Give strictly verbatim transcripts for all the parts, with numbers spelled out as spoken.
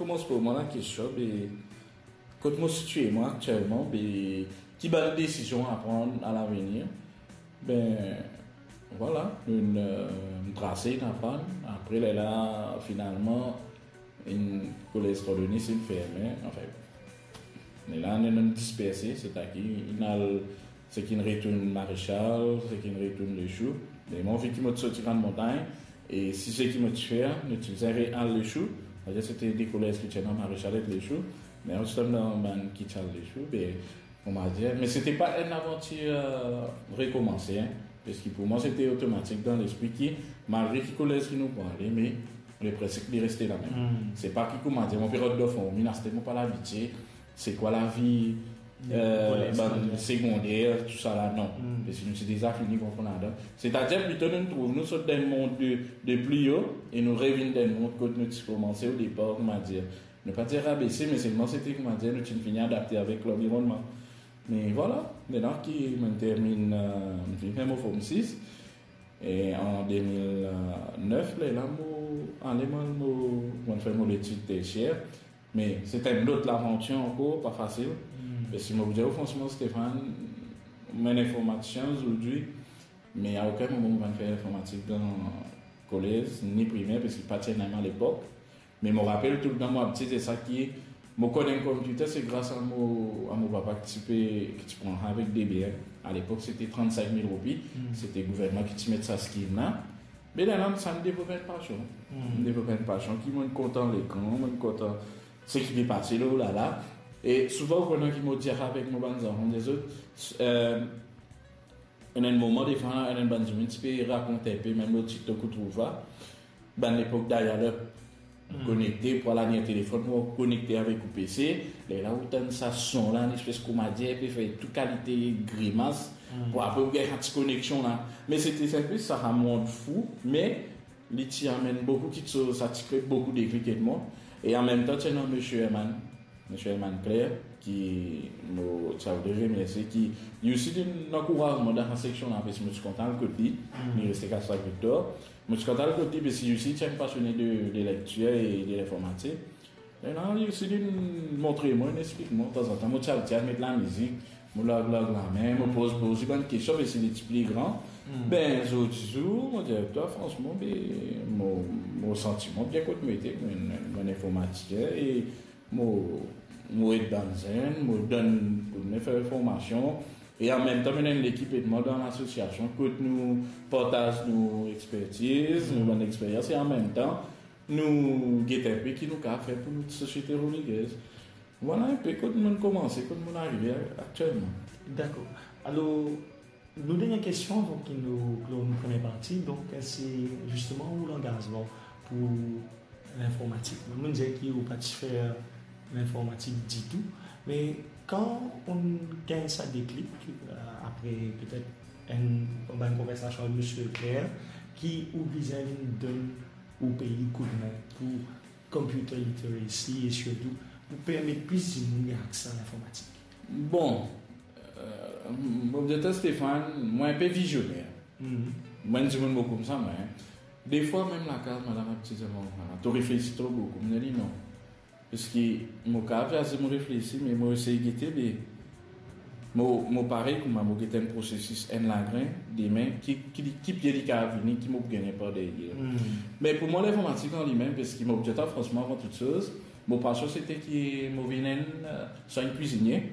Koumans pou mwa lakestion, be, kot mo sitie mwa aktielman, be, ki bann desizion a pran a lavenir. Be, vwala, nou, eh, trase, ena pann. Apre, lerla, finalman, enn kolez Trandonnis inn ferme, anfin. Lerla, nou, nou disperse, setadir, inn al, seki'nn retourn Marechal, seki'nn retourn Lechou. Me mwa, vi ki mo ti sorti Grannmontagn, e si seki mo ti fer, nou ti bizin re-al Lechou, setadir, sete de kolez ki ti ena Marechal ek Lechou, me nou ti tom dan bann ki ti al Lechou, be, kouma dir, me sete pa enn lavantir, eh, rekomanse, hein, parski pou mwa, sete otomatik dan lespri ki, malgre ki kolez ki nou pou ale, me leprensip li reste lamem. Hmm. Se pa ki, kouma dir, mo pe rod dan fon, mi ena, mo pa labitie, se kwa lavi, eh, kolez, bann segonder, tousala, non. Hmm. Parski nou ti deza fini konpran ladan. Setadir, plito nou trouv nou sot dan enn mond de, de pli o, e nou revinn dan enn mond kot nou ti koumanse o depar, kouma dir, nou pa dir rabese, me selman sete, kouma dir, nou ti fini adapte avek lanvironnman. Me vwala, lerla ki mo'nn terminn, eh, mo'nn fini fer mo Form sis, e an de mil nef, lerla mo ale, mo, mo, mo'nn fer mo letid tersier. Me sete enn lot lavantir ankor, pa fasil. Hmm. Me si mo pou dir ou fransman, Stéphane, mo enn informatisien zordi, me a okenn moman mo pa'nn fer informatik dan kolez, ni primer, parski pa ti ena lepok. Me mo rapel toultan, mo abitie dir sa ki mo konn enn konpiter, se gras a mo, a mo papa ki ti pe, ki ti pran avek D B M. A lepok, sete trannsenk mil roupi. Hmm. Sete gouvernman ki ti met sa skim la. Me lerla, sa inn devlop enn pasion. Hmm. Inn devlop enn pasion ki mo'nn kontan lekran, mo'nn kontan seki pe pase, o lala. E souvan, ou konn ki mo dir avek mo bann zanfan, dezot, eh, ena enn moman, defwa, ena enn bann dimoun ti pe rakont enpe, mem lor TikTok ou trouv sa. Bann lepok dial-up, hmm, konekte, pou al alim telefon, pou konekte avek ou P C. Lerla ou tann sa son la, enn espes kouma dir, pe fer tou kalite grimas, hmm, pou apre ou gagn sa ti koneksion la. Me sete sinp, sa ramond fou, me li ti amenn boukou kiksoz, sa ti kre boukou deklik ed mwa. E anmemtan, ti ena Misie Herman, Misie Herman Claire, ki mo ti a voudre remersie, ki li osi ti ena ankourazman dan sa seksion la, parski mo ti kontan al kot li, hmm, li reste Kastrak Victor. Mo ti kontan al kot li, parski li osi ti enn pasione de, de lektir e de linformatik. E la, li osi, li montre mwa, li explik mwa, tanzantan, mo ti al, ti al met lamizik, mo larg, larg lame, mo poz, poz li bann kestion, parski li ti pli gran. Hmm. Be, zordi zour, mo dir twa, fransman, be, mo, mo santi mwa bien kot mo ete, mo, mo enn informatisien, e mo, mo ed bann zenn, mo donn, mo fer formasion, e anmemtan, mo ena enn lekip ed mwa dan lasosiasion, kot nou partaz nou expertiz, nou bann experyans, e anmemtan, nou gete enpe ki nou kapav fer pou nou sosiete Rodriguez. Vwala enpe kot mo'nn koumanse, kot mo'nn arive aktielman. Dakor. Alor, nou dernie kestion, donk, ki nou klor nou premie parti, donk, se zisteman ou langazman pou linformatik. Mo'nn dir ki ou pa ti fer linformatik ditou, me kan ou gagn sa deklik, eh, apre petet enn, bann konversasion avek Misie Claire, ki ou bizin vinn donn ou pei koudme pou computer literacy e sirtou pou permet plis dimoun gagn akse a linformatik? Bon, eh, mo dir twa, Stéphane, mwa enpe vizioner. Mhm. Mwa enn dimoun mo koumsa, mwa, hein. Defwa, mem lakaz, madam, ap dir mwa, "Ah, to reflesi tro boukou." Mo dir li, "Non." Parski mo kapav dir mo reflesi, me mo esey gete, be mo, mo parey kouma mo gete enn prosesis, enn lagrin, demin, ki, ki, ki pie li kapav vini, ki mo pou gagne par deryer. Hmm. Me pou mwa, linformatik an limem, parski mo pou dir twa fransman, avan tou soz, mo pasion sete ki mo vinn enn, eh, swa enn kwizinie,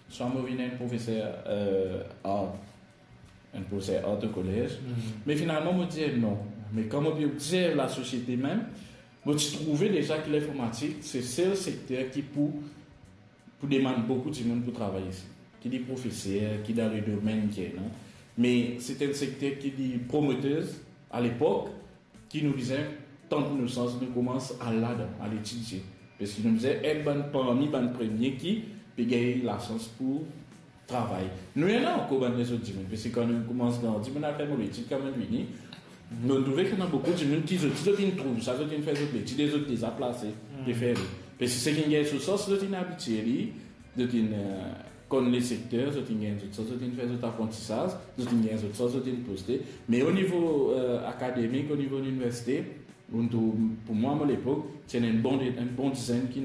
swa mo vinn enn profeser, eh, ar, enn profeser art o kolez. Hmm. Me finalman, mo dir non. Me kan mo pe obzerv lasosiete mem, mo ti trouve deza ki linformatik se sel sekter ki pou, pou demann boukou dimoun pou travay isi. Ki li profeser, ki dan le domenn ki ena. Me se enn sekter ki li prometer a lepok, ki nou bizin tant nou sans, nou koumans al ladan, al etidie. Parski nou bizin enn bann parmi bann premie ki pe gagn lasans pou travay. Nou ena ankor bann lezot dimoun, parski kan nou koumans grandi, mo'nn al fer mo letid, kan mo'nn vini, nou trouve ki ena boukou dimoun ki zot, zot inn trouv sa, zot inn fer zot letid, e zot deza plase, hmm, pe fer li. Parski seki inn gagn so sans, zot inn abitie li, zot inn, eh, konn lesekter, zot inn gagn zot sans, zot inn fer zot aprantisaz, zot inn gagn zot sans, zot inn poste. Me o nivo, eh, akademik, o nivo liniversite, nou trouv, pou mwa, mo lepok, ti ena enn bon, enn bon dizenn ki